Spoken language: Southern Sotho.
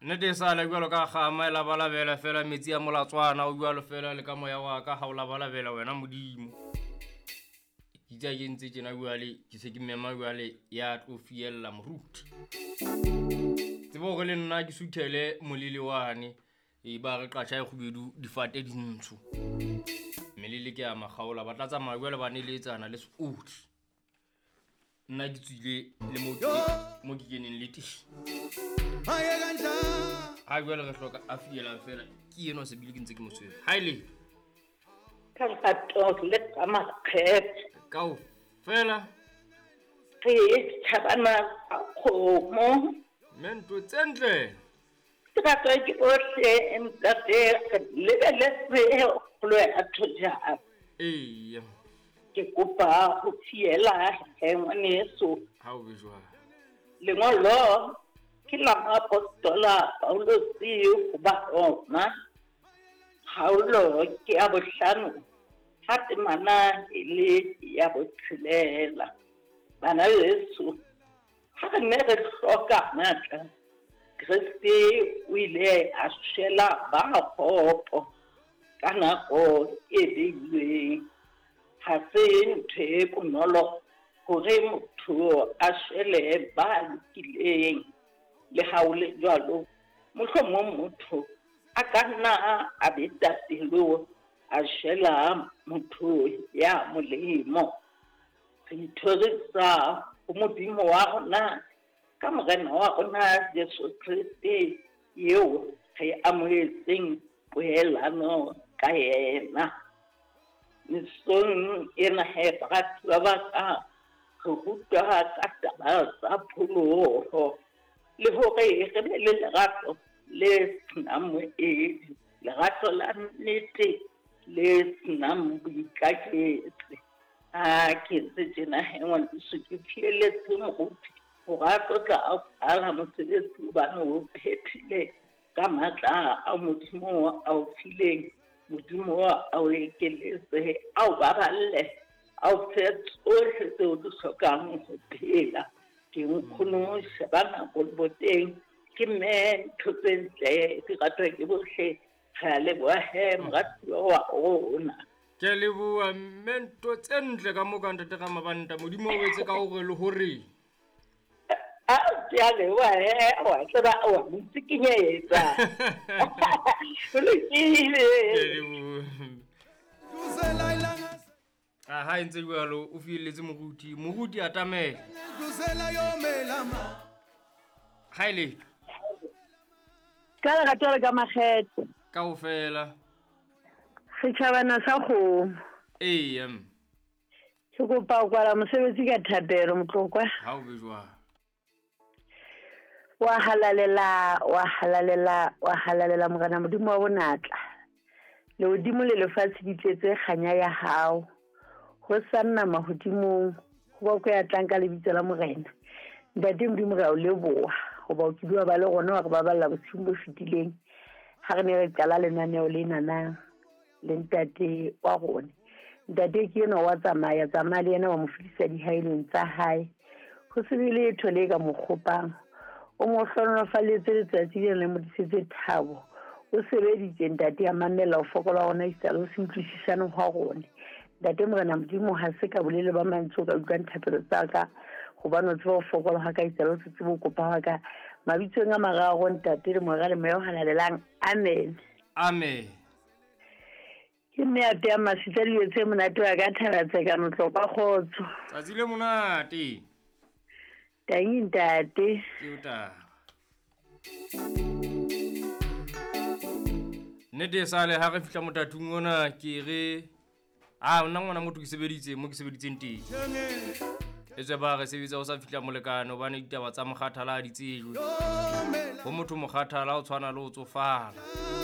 Nnete e sa le bjalo ka kgama e labalabela fela metsi a molatswana o bjalo fela le ka moya wa ka ga o labalabela wena Modimo. Ke itse ke ntse tjena jwale ke se ke mema jwale ya tlo fiella moruti. Tsebo hore le nna ke suthele molele wane e ba re qatjha e kgubedu difate di ntsho. Melele ke ya makgaola ba tla tsamaya jwale ba neletsana le seodi. Nna ke tswile le mo mo ke keneng le teng. Ha jwale re hloka a fielang fela ke enwa se bile ke ntse ke mo tshwere. Ha e le Ka lerato le ka makgethe. Kaofela. Re tjhabana sa kgomo. Mme ntho tse ntle. Ke ratwa ke bohle ntate re lebeletse kgolo ya thojana. Eya. Ke kopa ho fiela he ngwaneso. Ha o be jwalo. Lengolo ke la moapostola Paulose ho Baroma. Kgaolo ke ya bohlano ha temana e le ya botshelela. Bana beso, ha re ne re hloka matla, Kreste o ile a shwela ba kgopo ka nako e beilweng. Ha se ntho e bonolo hore motho a shwele ba lokileng. Le ha ho le jwalo, mohlomong motho a ka nna a beta pelo a shwela motho ya molemo. Re ithorisa ho Modimo wa rona ka Morena wa rona Jesu Kreste eo re amohetseng poelano ka yena. Mesong ena he baratuwa ba ka re rutwa ka taba tsa pholoho le hore re be le lerato le senang moedi, lerato la nnete le senang boikaketsi. Ha ke ntse tjena he ngwaneso ke fieletse moruti hore a tlo tla a kwala mosebetsi hobane o phethile ka matla a Modimo a o fileng. Modimo a o ekeletse, a o baballe, a o fe tsohle tseo di hlokang ho phela. Ke nkgono sheba nako le boteng ke mme ntho tse ntle di ratwa ke bohle. Re a leboha he moratuwa wa rona. Ke a leboha mme ntho tse ntle ka mo ka ntate Ramabanta. Modimo o etse ka hore le hore. A ke a leboha he wa tseba wa ntsikinyetsa. Ho lokile. Ke a leboha. A ha e ntse jwalo o fielletse moruti. Moruti atamela. Ha e le. Ka lerato le ka makgethe. Kaofela. Setjhabana sa kgomo. Eya. Ke kopa ho kwala mosebetsi ka thapelo Motlokwa. Ha o be jwalo. Wa halalela, wa halalela, wa halalela Morena Modimo wa bonatla. Lehodimo le lefatshe di tletse kganya ya hao. Ho sa nna mahodimong, ho ba ya tlang ka lebitso la Morena. Ntate Modimo re a o leboha hoba o kile wa ba le rona wa re baballa bosiung bo fetileng ha re ne re qala lenaneo lena na le ntate wa rona. Ntate ke enwa wa tsamaya, tsamaya le yena wa mo fetisa dihaelong tsa hae. Ho se be letho le ka mo kgopang. O mo hlohonolofalletse letsatsi lena le mo tlisetse thabo. O sebeditse ntate a mamella ho fokola hona esita le ho se utlwisisane hwa rona. Ntate Morena Modimo ha se ka bolele ba mantswe o ka utlwang thapelo tsa ka hobane o tseba ho fokola hwa ka esita le ho se tsebe ho kopa hwa ka. Mabitsong a mararo ntate le Mora le Moya o Halalelang. Amen. Amen. Ke mme a peang masitla dijo tse monate wa ka thabatseka motlokwa kgotso. Tsatsi le monate. Tangi ntate. Ke o taba. Nnete e sale ha re fihla motatung ona ke re a nna ngwana motho ke sebeditse mo ke sebeditseng teng. E tswe ba re sebetsa o sa fihla molekane hobane ditaba tsa mokgathala ha di tsejwe. Ho motho mokgathala o tshwana le o tsofala.